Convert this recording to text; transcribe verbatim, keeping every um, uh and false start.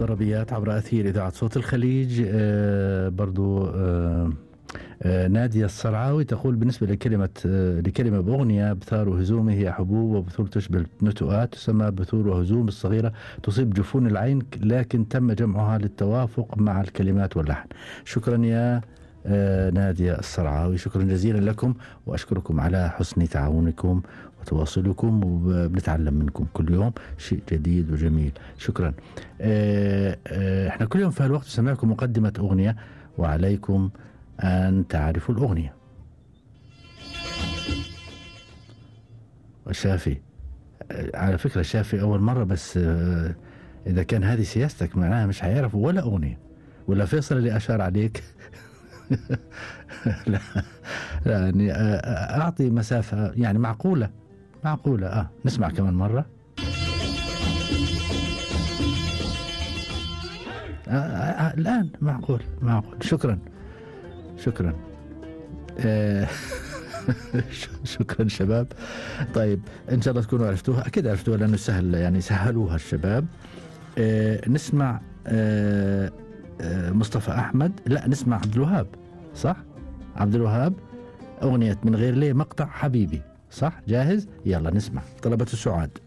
طربيات عبر أثير إذاعة صوت الخليج. آه برضو آه آه نادية الصرعاوي تقول بالنسبة لكلمة آه لكلمة بأغنية بثار وهزومه هي حبوب وبثور تشبه النتوءات تسمى بثور وهزوم الصغيرة تصيب جفون العين لكن تم جمعها للتوافق مع الكلمات واللحن. شكرا يا آه نادية الصرعاوي، شكرا جزيلا لكم وأشكركم على حسن تعاونكم وتواصلكم وبنتعلم منكم كل يوم شيء جديد وجميل. شكرا. آه آه احنا كل يوم في هالوقت سمعكم مقدمة أغنية وعليكم أن تعرفوا الأغنية. الشافي آه على فكرة الشافي أول مرة بس آه إذا كان هذه سياستك معناها مش هيعرفوا ولا أغنية ولا فيصل اللي أشار عليك. لا لا يعني أعطي مسافة يعني معقولة معقولة. آه نسمع كمان مرة. آه آه الآن معقول معقول. شكرا شكرا. آه شكرا شباب. طيب إن شاء الله تكونوا عرفتوها، أكيد عرفتوها لأنه سهل يعني سهلوها الشباب. آه نسمع آه آه مصطفى أحمد، لا نسمع عبد الوهاب، صح؟ عبد الوهاب أغنية من غير ليه مقطع حبيبي، صح؟ جاهز؟ يلا نسمع طلبة السعاد.